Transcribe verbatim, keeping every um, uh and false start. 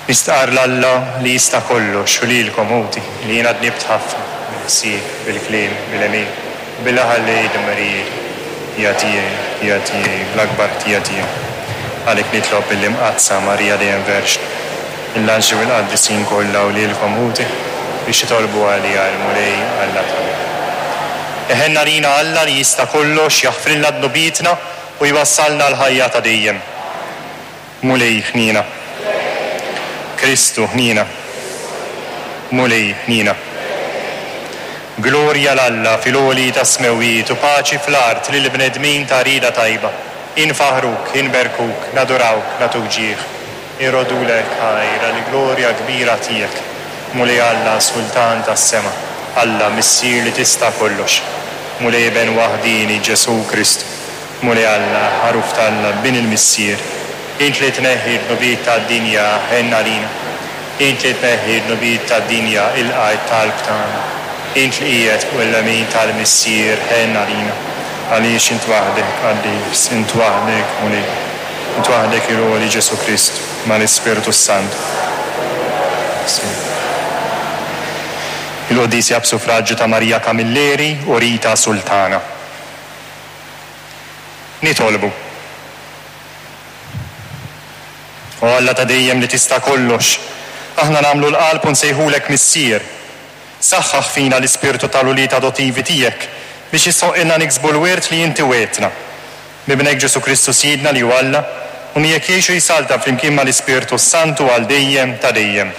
Nistqarr 'l Alla li jista' kollox u lilkom ħuti li jiena dnibt ħafna bil-ħsieb, bil-kliem, bil-għemil, billi ħallejt dmirijiet. Ħtija tiegħi, ħtija tiegħi, bl-akbar ħtija tiegħi. Għalhekk nitlob lill-Imqaddsa Marija dejjem Verġni, lill-anġli u l-qaddisin kollha u lilkom ħuti biex titolbu għalija lill-Mulej Alla tagħna. Iħenn għalina Alla li jista' kollox jaħfrilna dnubietna u jwassalna l-ħajja ta' dejjem. Mulej ħniena. Kristu ħniena. Mulej ħniena. Glorja 'l Alla fil-għoli tas-smewwiet u paċi fl-art lil bnedmin ta' rieda tajba. Infaħruk, inberkuk, nadurawk, nagħtuk ġieħ. Irroddulek ħajr għall-glorja kbira tiegħek. Mulej Alla, Sultan tas-sema, Alla Missier li tista' kollox. Mulej Iben waħdieni Ġesù Kristu. Mulej Alla, ħaruf t'Alla, Bin il-Missier. Int li tneħħi d-dnubiet tad-dinja, ħenn għalina. Int li tneħħi d-dnubiet tad-dinja, ilqa' t-talb tagħna. Int li qiegħed fuq il-lemin tal-Missier, ħenn għalina. Għaliex int waħdek qaddis, int waħdek Mulej, int waħdek il-għoli Ġesù Kristu, mal-Ispirtu Santu. Il-Quddiesa b'suffraġġju ta' Maria Camilleri u Rita Sultana. Nitolbu. O Alla ta' dejjem li tista' kollox, aħna nagħmlu l-qalb u nsejħulek Missier. Saħħaħ fina l-ispirtu tal-ulied adottivi tiegħek biex jistħoqqilna niksbu l-wirt li inti wegħedtna. B'Ibnek Ġesù Kristu Sidna li hu Alla, u miegħek jgħix u jsaltan flimkien mal-Ispirtu Santu għal dejjem ta' dejjem.